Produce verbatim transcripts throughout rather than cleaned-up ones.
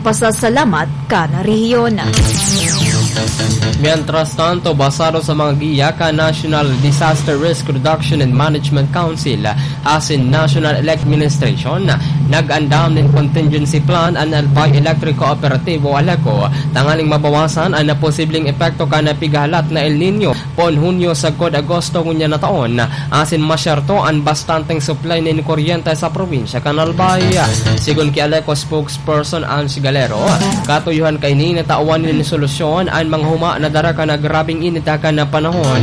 pasasalamat kan rehiyon. Mientras tanto, basado sa mga giya kan National Disaster Risk Reduction and Management Council asin National Electric Administration, nag-andam nin contingency plan an Albay Electric Cooperative o ALECO tanganing mabawasan an posibleng epekto kan pighahalat na El Niño poon Hunyo sagkod Agosto ngunyan na taon, asin masyerto an bastanteng supply nin kuryente sa probinsya kan Albay. Sigon ki ALECO spokesperson Ange Galero, katuyohan kaini na tawan nin solusyon an mga huma na dara kan grabeng init kan panahon.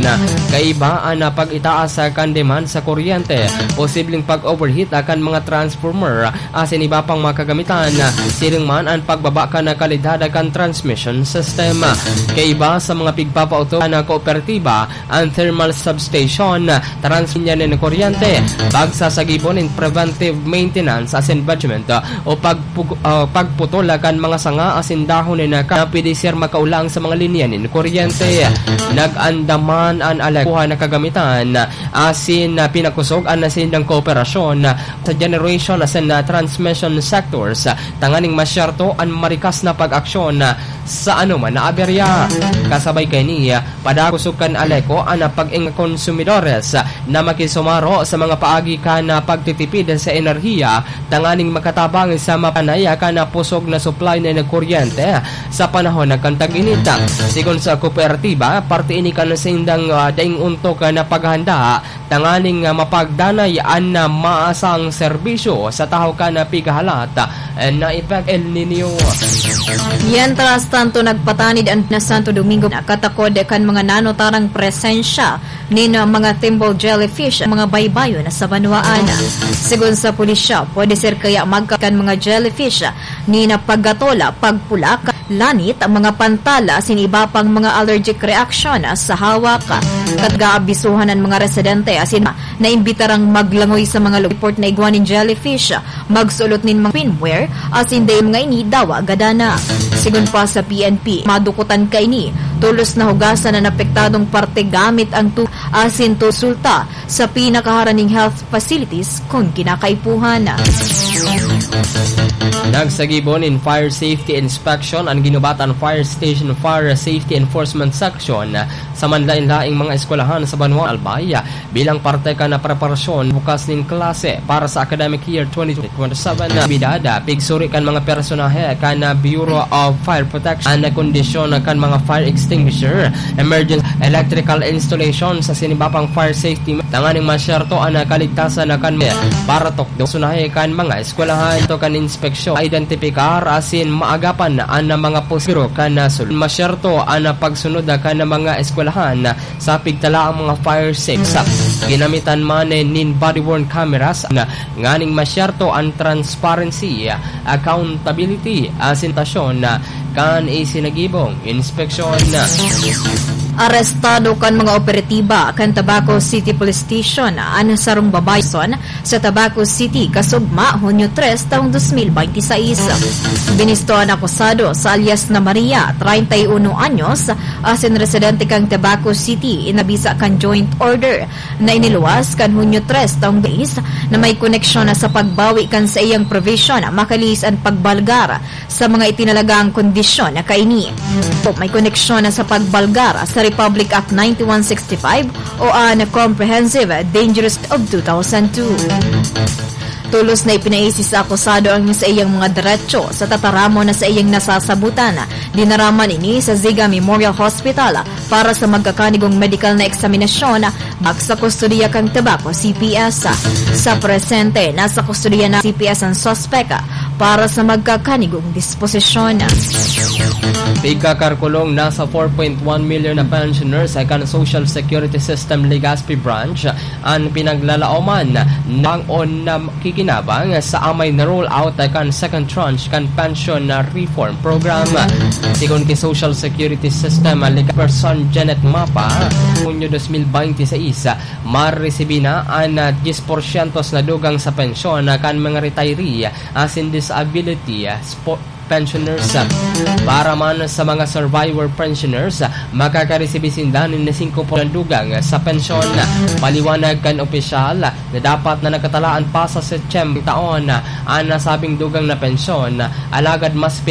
Kaiba an pag-itaas kan demand sa kuryente, posibleng pag-overheat kan mga transformer, asin iba pang mga kagamitan. Siring man an pagbaba kan kalidad kan transmission system. Kaiba sa mga pigpapauto kan kooperatiba, an thermal substation, transmission nin kuryente, pagsasagibo nin preventive maintenance asin management, o pagpug-, ah, pagputol kan mga sanga asin dahon nin ka-, na pwede ser makaolang sa mga linya nin kuryente. Nag-andam man an ALECO na kagamitan, asin, ah, pinakosog an nasindang kooperasyon sa generation asin, ah, transmission sectors, tanganing masyerto an marikas na pag-aksyon sa anoman na aberya. Kasabay kaini, padakosog kan ALECO an pag-ing konsumidores na makisumaro sa mga paagi kan pagtitipid sa enerhiya tanganing makatabang sa mapanaya kan pusog na supply na kuryente sa panahon kan tag-init. Sigon sa kooperatiba, parte ini kan saindang, ah, daing ontok na paghahanda tanganing, ah, mapagdanay an, ah, maasang serbisyo sa tahaw kan, ah, pighahalat, ah, na epekto El Niño. Mientras tanto, nagpatanid an Santo Domingo na katakod kan mga nanotarang presensya nin, ah, mga thimble jellyfish, mga baybayon sa banwaan. Sigon sa pulisya, pwede ser kaya magka-, kan mga jellyfish nin pagkatola, pagpulak, lanit, mga pantal, asin iba pang mga allergic reaction sa hawak. Katgaabisuhan an mga residente asin naimbitarang maglangoy sa mga lugar report na igwa nin jellyfish, magsulot nin mga swimwear, asin dai mga ini dawa gadana. Sigon pa sa P N P, madukutan kaini, tolos na hugasan an apektadong parte gamit ang tu-, asin tolos sulta sa pinakaharan ning health facilities kun kinakaipuhan. Nagsagibo nin fire safety inspection an ginubatan Fire Station Fire Safety Enforcement Section sa manlaen-laeng mga eskwelahan sa banwaan Albay bilang parte kan preparasyon bukas nin klase para sa academic year twenty twenty-seven. Bidada, pigsuri kan mga personahe kan Bureau of Fire Protection an kondisyon kan mga fire extinguisher, emergency electrical installation sa sinibapang fire safety tanganing masyerto an kaligtasan kan mga para tukdo sunahi kan mga eskwelahan. Ito kan inspeksyon, identipikar asin maagapan an mga posibiro kan sul-, masyerto an pagsunod kan mga eskwelahan sa pigtala ang mga fire safe. Sa ginamitan man nin body-worn cameras na nganing masyerto an transparency, accountability, asin tasyon kan isinagibong inspeksyon. Arestado kan mga operatiba kan Tabaco City Police Station an sarong babayi sa Tabaco City, kasugma, Hunyo tres, taong dos mil bente seis. Binisto an akusado sa alias na Maria, treinta y uno anyos, asin residente kan Tabaco City, inabisa kan joint order na iniluwas kan Hunyo tres, taong dais, na may koneksyon na sa pagbawi kan saiyang provision, makalihis an pagbalgar sa mga itinalagang kondisyon na kaini. May koneksyon na sa pagbalgar sa Republic Act ninety-one sixty-five o an Comprehensive Dangerous of two thousand two. Tolos na ipinaisi sa akusado ang saiyang mga derecho sa tataramon na saiyang nasasabutan. Dinara man ini sa Ziga Memorial Hospital para sa magkakanigong medical na eksaminasyon, bak sa kustodiya kan Tabaco C P S. Sa presente, nasa kustodiya na C P S ang suspek para sa magkakanigong disposisyon. Pigkakarkulong, nasa four point one million na pensioners kan Social Security System Legazpi Branch an pinaglalaoman ng on na kikinabang sa amay na roll out kan second tranche kan pension reform program. Sigon ki Social Security System Legazpi Person Janet Mapa, Hunyo dos mil bente seis, maresibi na an diyes porsyento na dugang sa pensyon kan mga retiree asin disability spo-, pensioners. Para man sa mga survivor pensioners, makakaresibi sinda nin singko por siyento dugang sa pensyon. Paliwanag kan opisyal na dapat na nakatalaan pa sa Setyembre taon an nasabing dugang na pensyon, alagad mas pina-